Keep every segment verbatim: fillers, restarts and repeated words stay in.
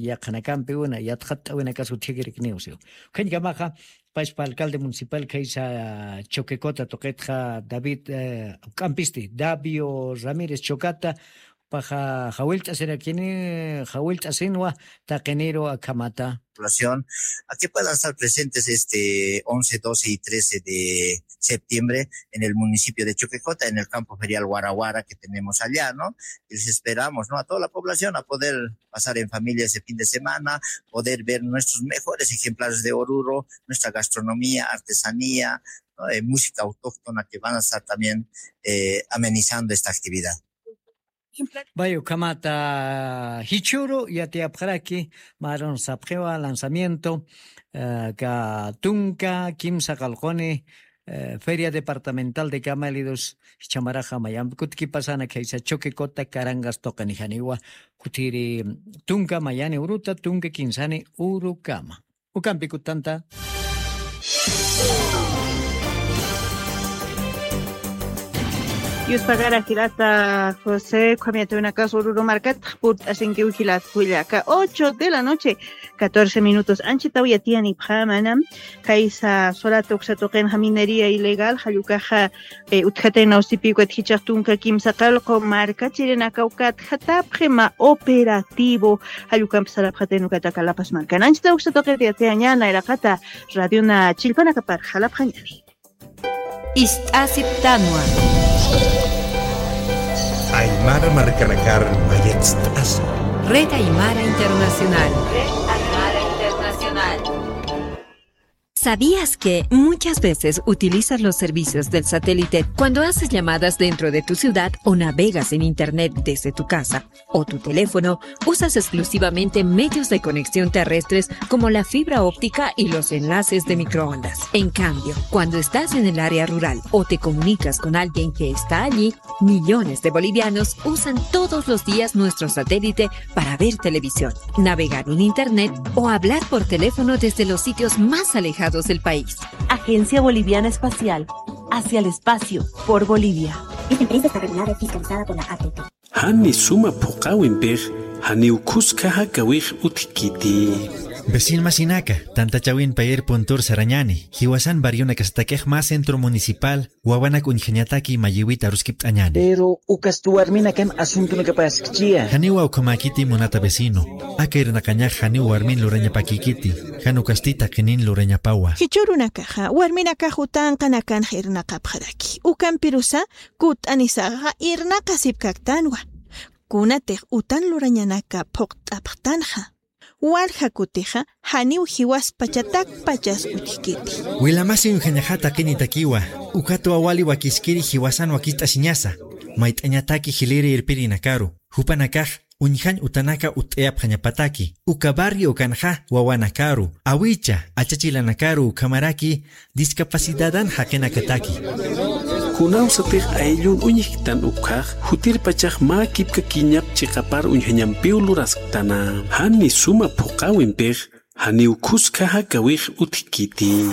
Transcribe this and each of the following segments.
yaqhanakampiwina, yatxatt'awinakas utjikirikniw siw. Ukhañkamaxa, pachpa alcalde municipal khaysa Choquecota tuqitxa David, eh, k'ampisti, Davio Ramírez Chocata, paxa jawillt'asirakini, jawillt'asinwa taqiniru akhamata. Población, a que puedan estar presentes este once, doce y trece de septiembre en el municipio de Choquecota, en el campo ferial Guaraguara que tenemos allá, ¿no? Y les esperamos, ¿no? A toda la población a poder pasar en familia ese fin de semana, poder ver nuestros mejores ejemplares de Oruro, nuestra gastronomía, artesanía, ¿no? Eh, música autóctona que van a estar también, eh, amenizando esta actividad. Vay, ukhamata jichhüru yatiyapxaraki, marun sapxiwa lanzamiento, eh, ka tunka kimsa qalquni, eh, Feria Departamental de Camélidos, jichhamaraxa mayampi kutkipasana khaysa Choquecota Carangas tuqini janiwa, kutiri tunka mayani uruta, tunka kinsani urukama. Ukampi kutanta. Yuspagara jilata José, ukham yatiyawinakas Oruro markata purt'asinkiw jilata kullaka, ocho de la noche, catorce minutos. Anchitaw yatiyanipxämana, khaysa Sorata uksa tuqinxa minería ilegal, jall ukaxa, eh, utjatayna usipi ukat jichhax tunka kimsa qallqu markachirinakaw katjatapxi mä operativo, jall ukamp sarapxatayna ukataka La Paz markan. Anchitaw uksa tuqit yatiyañäni, nayraqata radiona chillpanakapar jalapxañäni. Ist'asiptanwa. Aymara markanakar mayatst'asa. Red Aymara Internacional. Red Aymara Internacional. ¿Sabías que muchas veces utilizas los servicios del satélite cuando haces llamadas dentro de tu ciudad o navegas en Internet desde tu casa o tu teléfono? Usas exclusivamente medios de conexión terrestres como la fibra óptica y los enlaces de microondas. En cambio, cuando estás en el área rural o te comunicas con alguien que está allí, millones de bolivianos usan todos los días nuestro satélite para ver televisión, navegar en Internet o hablar por teléfono desde los sitios más alejados del país. Agencia Boliviana Espacial, hacia el espacio, por Bolivia. Esta empresa está regulada y fiscalizada por la A T T. Jani suma phuqhäwimpix janiw khuska jakawix utjkiti. Vecin masinaka, tantachäwin payir puntur sarañäni, jiwasan barrionakasatakix mä centro municipal, wawanak uñjañataki mayïwit aruskipt'añäni. Pero ukasti warminakan asuntonakapaskchia. Janiwa ukhamäkiti munata vecino. Aka irnaqañax janiw warmin lurañapäkïkiti, jan ukasti taqinin lurañapawa. Jichhürunakaxa warminakax utanqanakanxa irnaqapxaraki. Ukampirusa kutt'anisaxa irnaqasipkaktanwa. Kunatix utan lurañanaka phuqt'apxtanxa, walja kutixa janiw jiwaspachatakpachas utjkiti. Wilamasi uñjañaxa taqinitakiwa, ukatwa wali wakiskiri jiwasan wakicht'asiñasa, mayt'añataki jiliri irpirinakaru, jupanakax uñjañ utanaka utt'ayapxañapataki, uka barrio ukanxa wawanakaru, awicha, achachilanakaru ukhamaraki discapacidadan jaqinakataki. Kunawsatix ayllun uñjktan ukhax, jutirpachax mä kipkakiñap chiqapar uñjañampiw lurasktana. Jani suma phuqhäwimpix, janiw khuska jakawix utjkiti.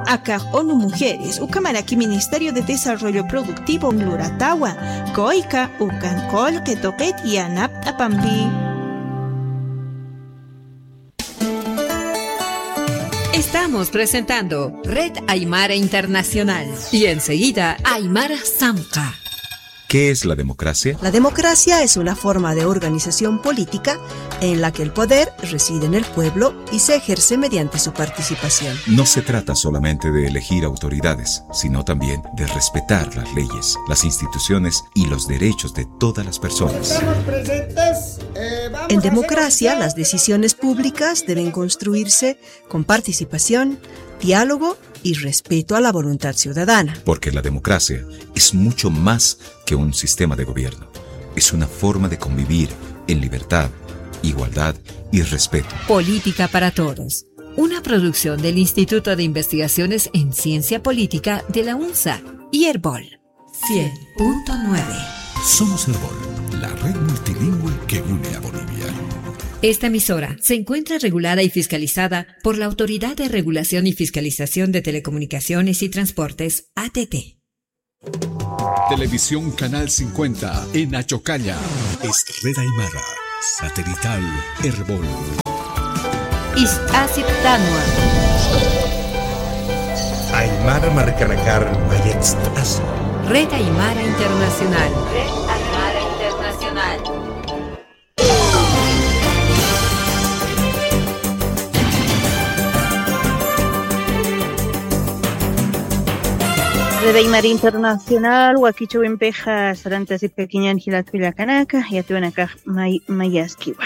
Akax ONU Mujeres, ukhamaraki Ministerio de Desarrollo Productivo luratawa, COICA, ukan qullqi tuqit yanapt'apampi. Estamos presentando Red Aymara Internacional y enseguida Aymara Samk'a. ¿Qué es la democracia? La democracia es una forma de organización política en la que el poder reside en el pueblo y se ejerce mediante su participación. No se trata solamente de elegir autoridades, sino también de respetar las leyes, las instituciones y los derechos de todas las personas. Estamos presentes, eh, vamos a hacer... En democracia, las decisiones públicas deben construirse con participación, diálogo y respeto a la voluntad ciudadana. Porque la democracia es mucho más que un sistema de gobierno. Es una forma de convivir en libertad, igualdad y respeto. Política para Todos, una producción del Instituto de Investigaciones en Ciencia Política de la UNSA y Erbol. Cien punto nueve. Somos Erbol, la red multilingüe que une a Bolivia. Esta emisora se encuentra regulada y fiscalizada por la Autoridad de Regulación y Fiscalización de Telecomunicaciones y Transportes, A T T. Televisión Canal cincuenta en Achocalla. Es Red Aymara, satelital Erbol. Ist'asiptanwa. Aymara markanakar mayatst'asa. Red Aymara Internacional. Red Aymara Internacional. Red Aymara Internacional, wakichawimpixa sarantasipkakiñan jilat kullakanaka, yatiwanakax may mayaskiwa.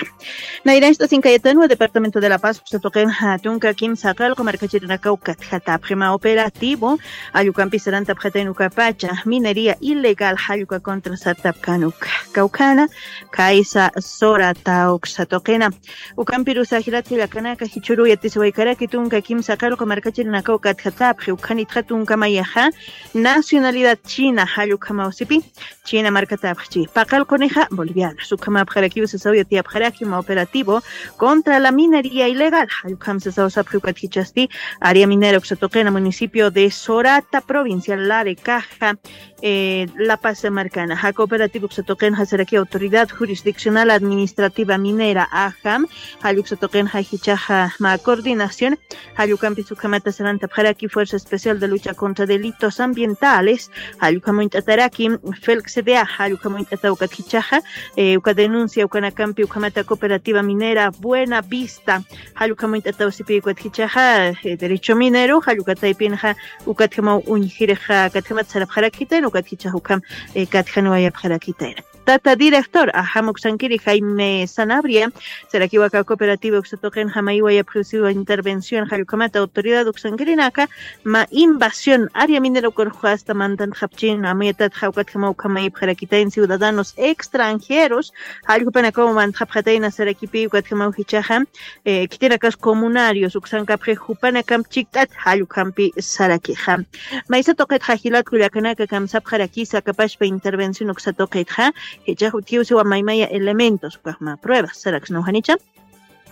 Nayranchta sinkayatanwa Departamento de La Paz uksa tuqin tunka kimsa qallqu markachirinakaw katjatapxima operativo, jall ukampi sarantapxatayn ukapacha minería ilegal jall uka contra sartapkan uka. Kawkhana, kaysa Sorata uksa tuqina. Ukampirusa jilat kullakanaka, jichhüru yatisiwaykaraki tunka kimsa qallqu markachirinakaw katjatapxi, ukhanitxa tunka mayaxa nacionalidad china jall ukhamaw sipi. China markatapxchi. Paqallqunixa bolivianos. Ukhamapxarakiw sasaw yatiyapxaraki mä operativo contra la minería ilegal. Jall ukham sasaw sapxi ukat jichhasti área minera uksa tuqina municipio de Sorata, provincia Larecaja, eh, La Paz markana. Jaka operativo uksa tuqinxa saraki Autoridad Jurisdiccional Administrativa Minera, ajam, jall uksa tuqinxa jichhaxa mä coordinación. Jall ukampis ukhamata sarantapxaraki Fuerza Especial de Lucha contra Delitos Ambientales, jall ukham uñt'ataraki FELC-CDA, jall ukham uñt'ata ukat jichhaxa, eh, uka denuncia ukanakampi ukhamata Cooperativa Minera Buena Vista, jall ukham uñt'ataw sipi ukat jichhaxa, eh, derecho minero, jall uka taypinxa, ukatjamaw uñjirixa, katjamat sarapxarakitayna, ukat jichhax ukham, eh, katjanwayapxarakitayna. Tata director, ajam uksankiri Jaime Sanabria, sarakiwa aka cooperativa uksa tuqinxa mayiwayapxiw siwa intervención jall ukhamata autoridad uksankirinaka, mä invasión área minera ukarux hasta mantantxapchïna, amuyatatxa ukatjamaw ukhamayipxarakitayna ciudadanos extranjeros, jall jupanakaw mantxapxatayna sarakipi ukatjamaw jichhaxa, eh, khitinakas comunarios uksankapxi jupanakamp chikt'at jall ukhampi sarakixa. Maysa tuqitxa jilat kullakanaka kamsapxarakisa kapashpa intervención uksa tuqitxa, jichhax utjiw siwa maymaya elementos, ukax mä pruebas, saraksnaw janicha.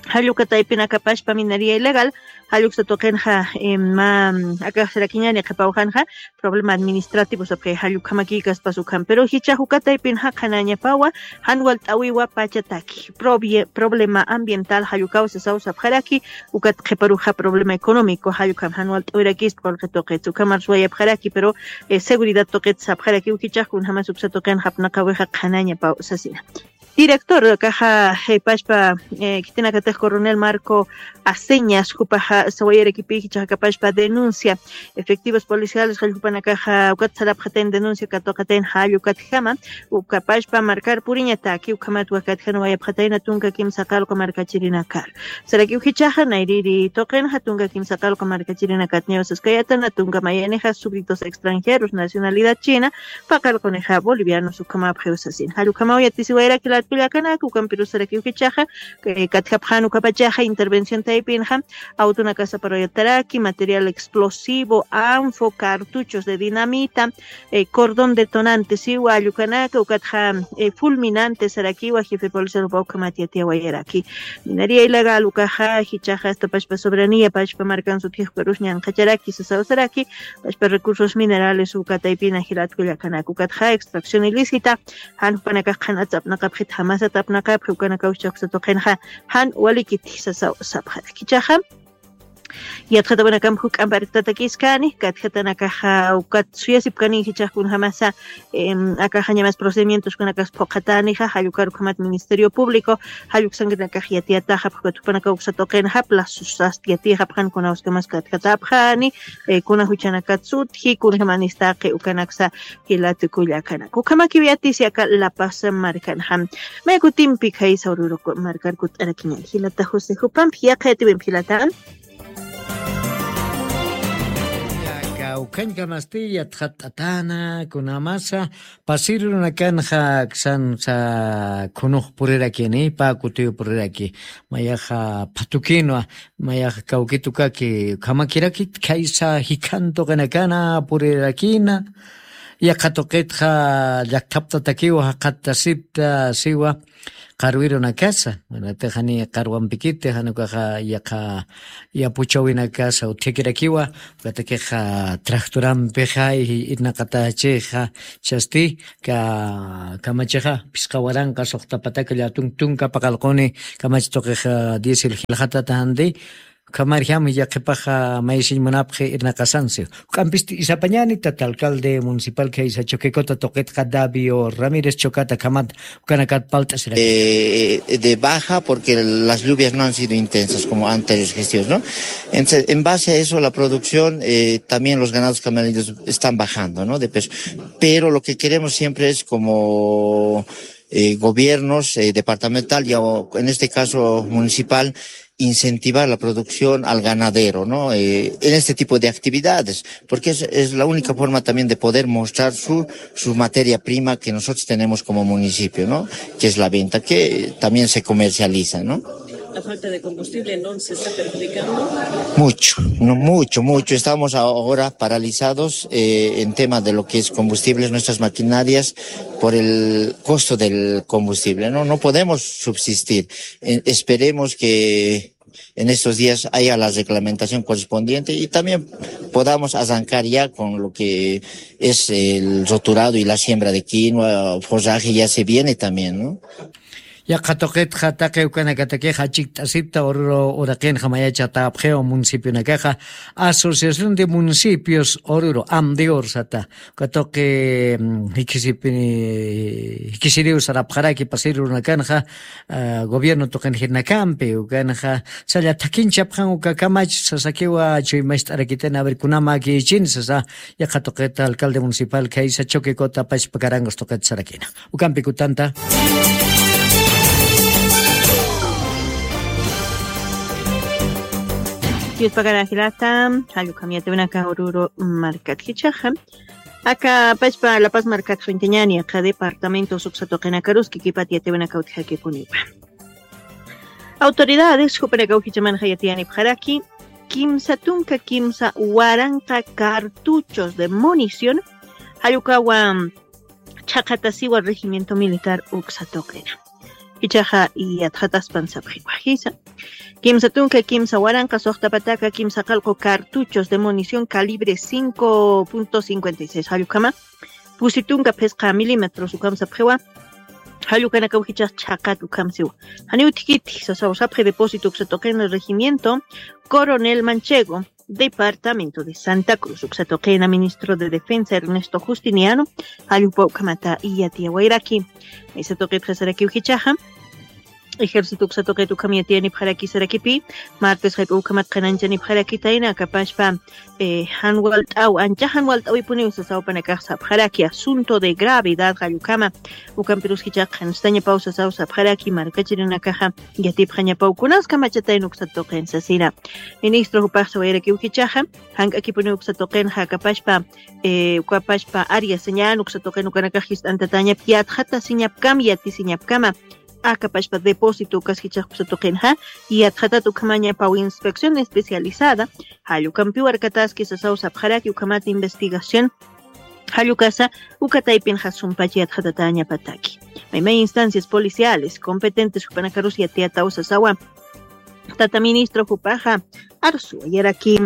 Jall uka taypinakapashpa minería ilegal, jall uksa tuqinxa, eh, mä, akax sarakiñani qhipawjanxa, problema administrativo sapxi jall ukhamakïkaspas ukham. Pero jichhax uka taypinxa qhanañapawa, jan walt'äwiwa pachataki. Probie-, problema ambiental jall ukaw sasaw sapxaraki, ukat qhiparuxa problema económico, jall ukham jan walt'äwirakispa qullqi tuqit. Ukhamar suwayapxaraki, pero, eh, seguridad tuqit sapxarakiw jichhax kunjamas uksa tuqinxa apnaqäwixa qhanañapaw sasina. Director, akaxa, eh, pashpa, eh, khitinakatix coronel Marco Aceñas, jupaxa sawayarakipï jichhaxa kapashpa denuncia, efectivos policiales jall jupanakaxa ukat sarapxatayn denuncia katuqatayn jall ukatjama, ukapashpa markar puriñataki, ukhamat wakatjanwayapxatayna tunka kimsa qallqu markachirinakar. Sarakiw jichhaxa, nayrïri tuqinxa tunka kimsa qallqu markachirinakatniw saskayätana, tunka mayanixa súbditos extranjeros, nacionalidad china, paqallqunixa bolivianos ukhamapxiw sasin. Jall ukhamaw yatisiwayarak jilat kullakanaka, ukampirus sarakiw jichhaxa, eh, katjapxän ukapachaxa intervención taypinxa, autonakax saparuyataraki, material explosivo, anfo, cartuchos de dinamita, eh, cordón detonante, siwa jall ukanaka, ukatxa, eh, fulminante sarakiwa, jefe policial jupa ukhamat yatiyawayaraki. Minería ilegal ukaxa, jichhaxa hasta pashpa soberanía, pashpa markan sutjix ukarus ñanqhacharaki, sasaw saraki, pashpa recursos minerales uka taypina jilat kullakanaka, ukatxa extracción ilícita, jan jupanakax qhanatsa apnaqapxit, jamasat apnaqapxi, ukanakaw jichhax uksa tuqinxa, jan walikiti sasaw sapxaraki. Jichhaxa, yatxatawanakamp juk'amp arktatakiskani, katjatanakaxa ukat suyasipkani jichhax kunjamasa, em, akaxa ñamas procedimientos kunanakas phuqhatänixa, jall ukar ukhamat Ministerio Público, jall uksankirinakax yatiyataxa, ukat jupanakaw uksa tuqinxa plazos sasti yatiyxapxani, kuna uskamas katjatapxani, eh, kuna juchanakat sutji, kunjamanistaqi ukanaksa jilat kullakanaka. Ukhamakiw yatisi aka La Paz markanxa. Mä kutimpi khaysa Oruro markar kutt'arakiñäni. Jilata José, jupampi yaqha yatiwimpi jilata. Kawkhañkamasti yatxatt'atäna, kunamasa, pasir urunakanxa aksansa khunux purirakini, pä kutiw puriraki, mayaxa phatukinwa, mayaxa kawkitukaki, ukhamakiraki, khaysa jikhan tuqinakana purirakina, Yaqha tuqitxa llakthaptatakiwa jaqhattasipta siwa qarwirunakasa, tixani qarwampikiti janukaxa yaqha yapuchawinakasa utjikirakiwa. Ukatakixa tractorampixa irnaqatachixa chasti kamachixa phisqa waranqa suxtapataka llatun tunka paqalquni. Kamachi tuqixa diésel jilxatata jandi. Ukhamarjam yaqhipaxa maysiñ munapxi irnaqasansi. Uk'ampisti isapañani tata alcalde municipal khaysa choquecota tuqitqa davio ramírez chocata khamat ukanakat palt'asiraki. De baja porque las lluvias no han sido intensas como anteriores gestiones, ¿no? Entonces, en base a eso la producción, eh, también los ganados camelinos están bajando, ¿no? De peso. Pero lo que queremos siempre es como eh, gobiernos, eh, departamental y en este caso municipal, incentivar la producción al ganadero, ¿no? Eh, en este tipo de actividades, porque es, es la única forma también de poder mostrar su, su materia prima que nosotros tenemos como municipio, ¿no? Que es la venta, que también se comercializa, ¿no? La falta de combustible no se está perjudicando. Mucho, no, mucho, mucho. Estamos ahora paralizados eh, en tema de lo que es combustibles, nuestras maquinarias, por el costo del combustible, ¿no? No podemos subsistir. Eh, esperemos que en estos días haya la reglamentación correspondiente y también podamos arrancar ya con lo que es el roturado y la siembra de quinoa, forraje ya se viene también, ¿no? Yaqha tuqitxa taqi ukanakatakix achikt'asipta ururu uraqinxa mayacha tawapxiwa municipionakaxa, asociación de municipios ururu amdior sata. Uka tuqi jikisipini jikisiriw sarapxaraki pasirurunakanxa gobierno tuqin jirnakampi ukanxa salla thakinchapxan uka kamach sasakiwa chuymacht'arakitina aver kunama kiyichin sasa. Yaqha tuqita alcalde municipal khaysa choquecota pachpakarangas tuqita sarakina. Ukampikutanta. Yuspakana jilata. Jallukam yatiwinaka ururu markat jichaxa aka pachpa lapas markat xwintañani aka departamento suksa tuqinakaruski kipat yatiwinaka utjakipuniwa. Autoridades jupanakaw jichamanxa yatiyanipxaraki kimsa tunka kimsa waranqa cartuchos de munición jallukawa chhaqatasiwa regimiento militar uksa tuqina. Ichaxa yatxataspan sapxiwa jisa kimsa tunka kimsa waranqa suxtapataka kimsa qalqu cartuchos de munición calibre cinco punto cincuenta y seis jallukama pusi tunka phisqa milímetros ukham sapxiwa. Jallukanakaw jichax chhaqat ukham siwa. Janiw thikiti sasaw sapxi depósito uksa tuqina regimiento coronel manchego departamento de santa cruz uksa tuqina ministro de defensa ernesto justiniano. Jallupa ukhamata yatiyawayraki. Maysa tuqitxa sarakiw jichaxa ejército uksa tuqit ukham yatiyanipxaraki sarakipi martes jayp'a ukhamat qhananchanipxarakitayna akapashpa jan walt'aw ancha jan walt'awipuniw sasaw panakax sapxaraki asunto de gravedad jallukama. Ukampirus jichax qhanstañapaw sasaw sapxaraki markachirinakaxa yatipxañapaw kunas kamachatayna uksa tuqin sasina. Ministro jupax sawayarakiw jichaxa jank'akipuniw uksa tuqinxa akapashpa ukapashpa área señal uksa tuqin ukanakax jist'antatañap yatxatasiñapkam yatisiñapkama. Akapashpa depósito ukas jichax uksa tuqinxa yatxatat ukhamañapaw inspección especializada jallukampiw arkataski sasaw sapxaraki ukhamat investigación. Jallukasa uka taypinxa sumpach yatxatatañapataki maymay instancias policiales competentes jupanakarus yatiyataw sasawa. Tata ministro jupaxa arsuwayaraki.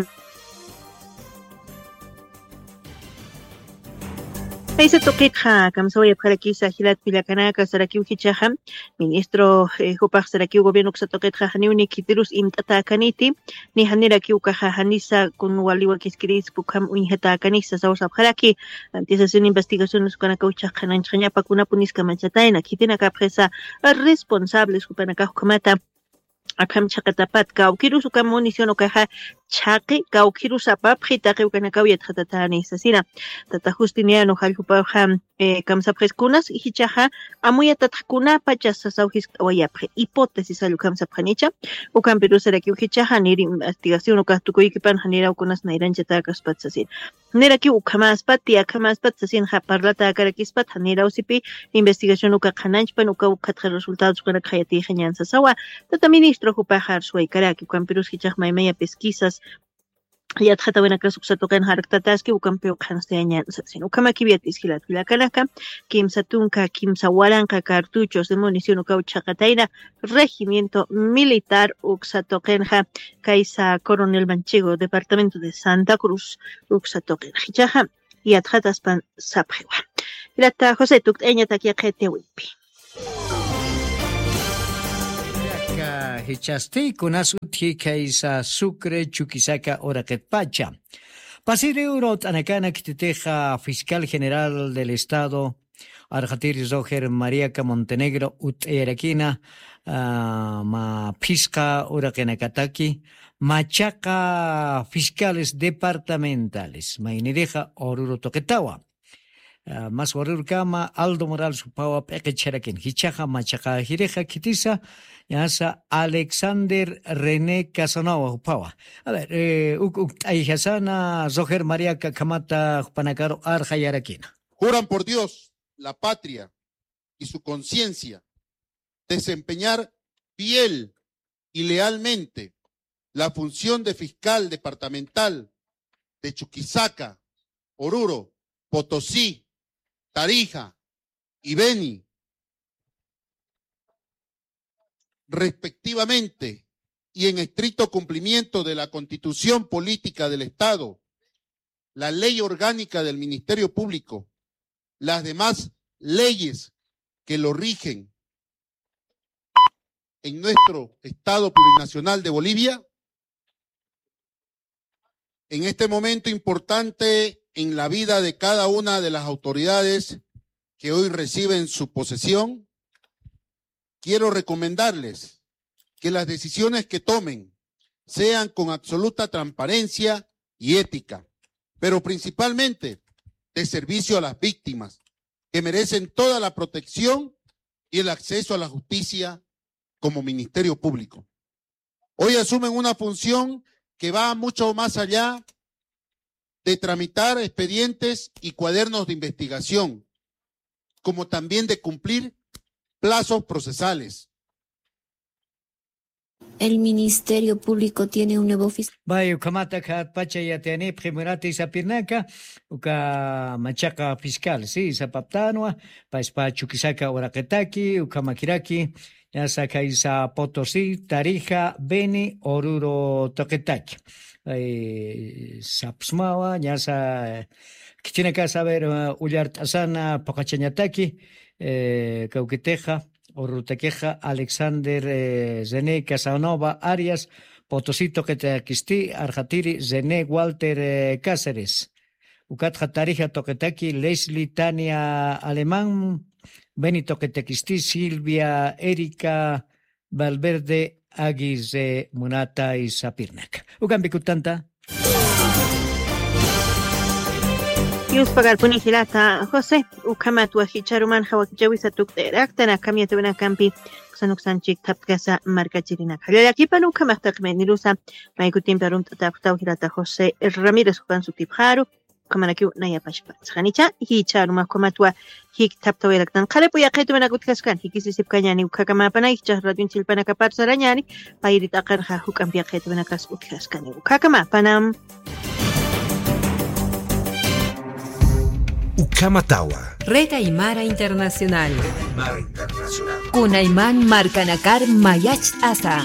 Jaysa tuqitxa kamsawayapxarakisa jilat kullakanaka sarakiw jichaxa ministro jupax sarakiw gobierno uksa tuqitxa janiw ni khitirus imt'atäkaniti ni janirakiw ukaxa janisa kun waliwa kiskirïspa ukham uñjatäkanisa sasaw sapxaraki. Antisasin investigaciones ukanakaw jichax qhananchxañapa kunapunis kamachatayna khitinakapxisa responsables jupanakax ukhamata akham chhaqatapat kawkirus uka munición ukaxa chhaqi kawkirus apapxi taqi ukanakaw yatxatatäni sasina. Tata justiniano jalljupaxa kamsapxis kunas jichaxa amuyatatxa kunapachas sasaw jiskt'awayapxi hipótesis jallukam sapxanicha. Ukampirus sarakiw jichaxa nir investigación ukax tukuykipanxa niraw kunas nayranchatäkaspat sasina. Nirakiw ukhamäspat tiyakhamäspat sasinxa parlatäkarakispat janirawsipi investigación uka qhananchpan uka ukhatxa resultados ukanakxa yatiyxañan sasawa. Tata ministro jupaxa arsuwaykaraki ukampirus jichax maymaya pesquisas yatxatawinakas uksa tuqin jarktataski, ukampiw qhanstayañan sasin. Ukhamakiw yat'is jilat jilakanaka, kimsa tunka, kimsa waranqa cartuchos de munición ukaw chhaqatayna regimiento militar uksa tuqinxa, kaysa Coronel Manchego, departamento de Santa Cruz, uksa tuqinxa. Jichhaxa, yatxataspan sapxiwa. Jilata José, tukt'ayañatak yaqhitawimpi. Aka jichhasti kunas utji kaysa Sucre Chuquisaca uraqitpacha. Pasiri uru t'anakana khititixa fiscal general del estado, arxatiri Roger Mariaca Montenegro ut'ayarakina, ah, mä phisqa uraqinakataki, machaqa fiscales departamentales, maynirixa Oruro tuqitawa. Ah, mas Orurokama Aldo Morales juphawa p'iqicharakin. Jichhaxa machaqajirixa khitisa, ñasa Alexander René Casanova juphawa. A ver, eh, uk, uk t'ayjasana, Roger Mariaca, ukhamata jupanakaru arxayarakina. Juran por Dios, la patria y su conciencia desempeñar fiel y lealmente la función de fiscal departamental de Chuquisaca, Oruro, Potosí, Tarija y Beni, respectivamente, y en estricto cumplimiento de la Constitución Política del Estado, la Ley Orgánica del Ministerio Público, las demás leyes que lo rigen en nuestro Estado Plurinacional de Bolivia, en este momento importante en la vida de cada una de las autoridades que hoy reciben su posesión, quiero recomendarles que las decisiones que tomen sean con absoluta transparencia y ética, pero principalmente de servicio a las víctimas, que merecen toda la protección y el acceso a la justicia como Ministerio Público. Hoy asumen una función que va mucho más allá de tramitar expedientes y cuadernos de investigación, como también de cumplir plazos procesales. El Ministerio Público tiene un nuevo fiscal. Bay, ukhamata khatpacha yatiyanipxi munata sapirnaka, uka machaqa fiscal, sí, sapaptanwa, paspa Chuquisaca uraqitaki, ukhamakiraki, ñasa kaysa Potosí, Tarija, Beni, Oruro tuqitaki. Ay, sapsmawa, ñasa, khitinakasa, a ver, eh, ullart'asana phuqhachañataki, eh, kawkitixa, Orurutakixa, Alexander, eh, René Casanova Arias, Potosí tuqitakisti, arxatiri René Walter, eh, Cáceres. Ukatxa Tarija tuqitaki Leslie Tania Alemán, Beni tuqitakisti Silvia Erika Valverde Aguirre munata sapirnaka. Ukampi kutanta. Yuspagarpuni jilata José, ukhamatwa jichharumanxa wakichäwisa tukt'ayaraktan, akham yatiyäwinakampi uksan uksanchik thaptkasa markachirinaka. Llallakipana ukhamax taqi maynirusa, maykutimpi arumt'atäpxtaw jilata José Ramírez jupan sutipxaru, ukhamarakiw nayapachpax. Janicha, jichharumax ukhamatwa jikthaptawayaraktan. Qharip'u yaqhitumanaka utjaskan, jikisisipkañäni ukhakamäpanay, jichhax radioñ chillpanakapar sarañäni, payri t'aqanxa juk'amp yaqhitumanakasa utjaskani. Ukhakamäpanam. Ukhamatawa. Red Aymara Internacional. Kunayman markanakar mayacht'asa.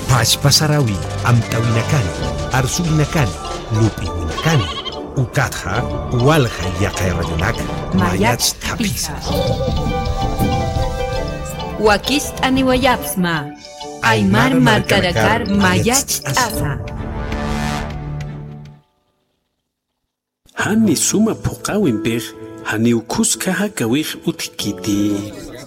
Pachpa sarawi amtawinakani, arsuwinakani, lup'iwinakani, ukatxa walja yaqha radionak mayacht'apisa. Wakicht'aniwayapxsma. Aymar markanakar mayacht'asa. Jani suma phuqhawimpix, janiw khuska jakawix utjkiti.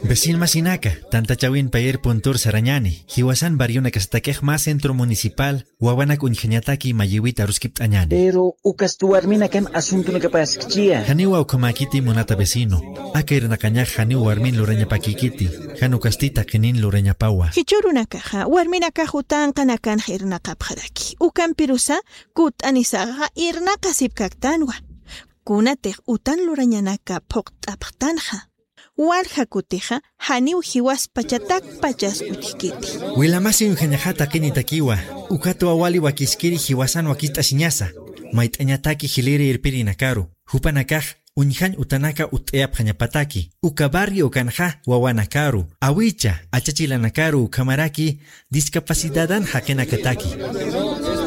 Vecinomasinaka, tantachawin payir puntur sarañäni, jiwasan barrionakasatakix mä centro municipal, wawanak uñjañataki mayiwit aruskipt'añäni. Pero ukasti warminakan asuntonakapaskchiya. Janiwa ukhamäkiti munata vecino. Aka irnaqañax janiw warmin lurañapakïkiti, jan ukasti taqinin lurañapawa. Jichhürunakaxa, warminakax utanqanakanxa irnaqapxaraki. Ukampirusa, kutt'anisaxa irnaqasipkaktanwa. Kunatix utan lurañanaka phuqt'apxtanxa, Walja kutixa janiw jiwaspachatakpachas utjkiti. Wilamasi uñjañaxa taqinitakiwa, ukatwa wali wakiskiri jiwasan wakist'asiñasa, mayt'añataki jiliri irpirinakaru, jupanakax uñjañ utanaka utt'ayapxañapataki, uka barrio ukanxa wawanakaru, awicha, achachilanakaru ukhamaraki discapacidadan jaqinakataki.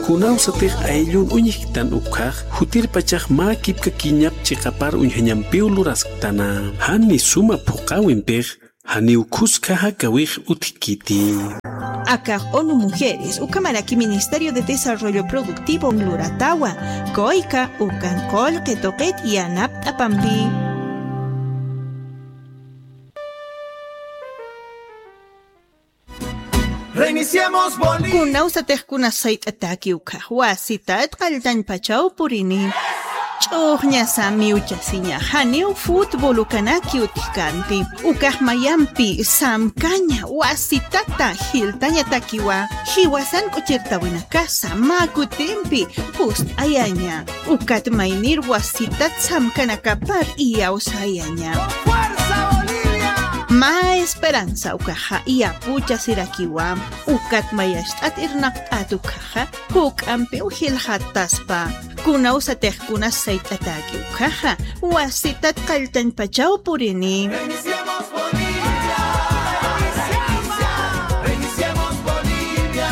Kunawsatix ayllun uñjktan ukhax, jutirpachax mä kipkakiñap chiqapar uñjañampiw lurasktana. Jani suma phuqawimpix, janiw khuska jakawix utjkiti. Akax ONU Mujeres, ukhamaraki Ministerio de Desarrollo Productivo luratawa, kuyka ukan qullqi tuqit yanapt'apampi. Reiniciemos Bolivia. Kunawsatix kunas sayt'ataki ukhax wasitat qalltañpachaw purini. Ch'uxñasa miwchasiña, janiw fútbol ukanaki utjkanti. Ukax mayampi samkaña, wasitata jiltañatakiwa. Jiwasan k'uchirtawinakasa mä kutimpi pust'ayaña. Ukat maynir wasitat samkanakapar iyawsayaña. ¡Fuerza Bolivia! Mä esperanza ukaxa iyapuchasirakiwa. Ukat mayacht'at irnaqt'at ukhaxa, juk'ampiw jilxattaspa. Kunawsatix kunas sayt'ataki ukhaxa, wasitat qalltañpachaw purini. Reiniciemos Bolivia. Reiniciemos Bolivia.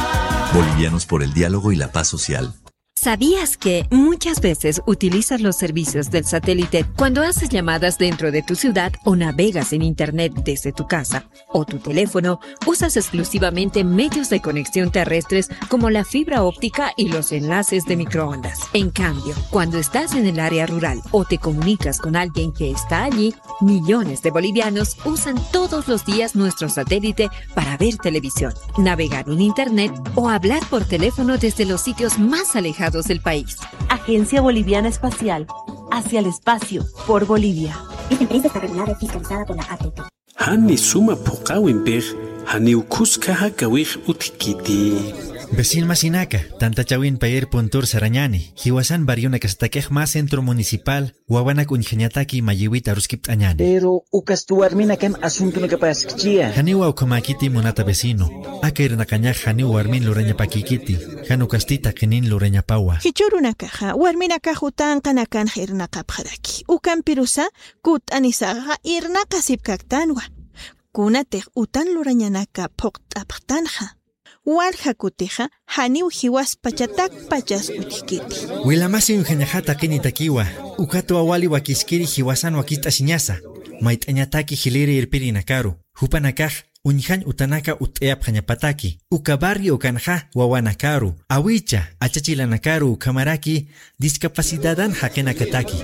Bolivianos por el diálogo y la paz social. ¿Sabías que muchas veces utilizas los servicios del satélite cuando haces llamadas dentro de tu ciudad o navegas en internet desde tu casa o tu teléfono? Usas exclusivamente medios de conexión terrestres como la fibra óptica y los enlaces de microondas. En cambio, cuando estás en el área rural o te comunicas con alguien que está allí, millones de bolivianos usan todos los días nuestro satélite para ver televisión, navegar en internet o hablar por teléfono desde los sitios más alejados del país. Agencia Boliviana Espacial, hacia el espacio, por Bolivia. Esta empresa está regulada y fiscalizada por la A T T. Jani suma phuqawimpix, janiw khuska jakawix utjkiti. Vecin masinaka, tantachawin payir puntur sarañani, jiwasan barrionakasatakix mä centro municipal, wawanak uñjañataki mayiwit aruskipt'añani. Pero ukasti warminakan asuntonakapaskchiya. Janiwa ukhamäkiti munata vecino, aka irnaqañax janiw warmin lurañapakïkiti, jan ukasti taqinin lurañapawa. Jichhürunakaxa, warminakax utanqanakanx irnaqapxaraki. Ukampirusa, kutt'anisaxa irnaqasipkaktanwa. Kunatix utan lurañanaka phuqt'apxtanxa. Walja kutixa, janiw jiwaspachatakpachas utjkiti. Wilamasi uñjañaxa taqinitakiwa, ukatwa wali wakiskiri jiwasan wakist'asiñasa, mayt'añataki jiliri irpirinakaru, jupanakax uñjañ utanaka utt'ayapxañapataki, uka barrio ukanxa wawanakaru, awicha, achachilanakaru ukhamaraki discapacidadan jaqinakataki.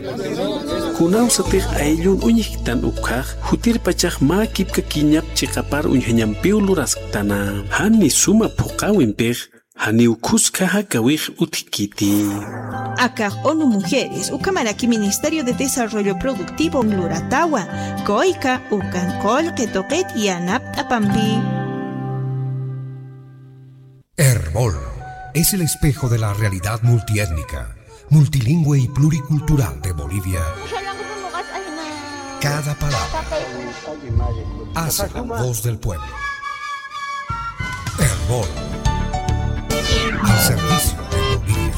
Kunawsatix ayllun uñjktan ukhax, jutirpachax mä kipkakiñap chiqapar uñjañampiw lurasktana. Jani suma phuqawimpix, janiw khuska jakawix utjkiti. Akax ONU Mujeres, ukhamaraki Ministerio de Desarrollo Productivo luratawa, kuyka ukan qullqi tuqit yanapt'apampi. Erbol es el espejo de la realidad multiétnica, multilingüe y pluricultural de Bolivia. Cada palabra hace la voz del pueblo. Erbol. Al servicio de Bolivia.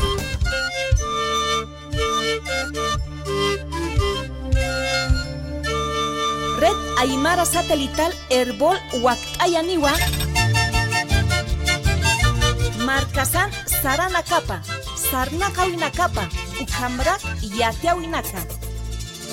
Red Aymara Satelital Erbol wakt'ayaniwa. Markasan saranakapa, sarnaqawinakapa, ukhamrak yatiyawinaka.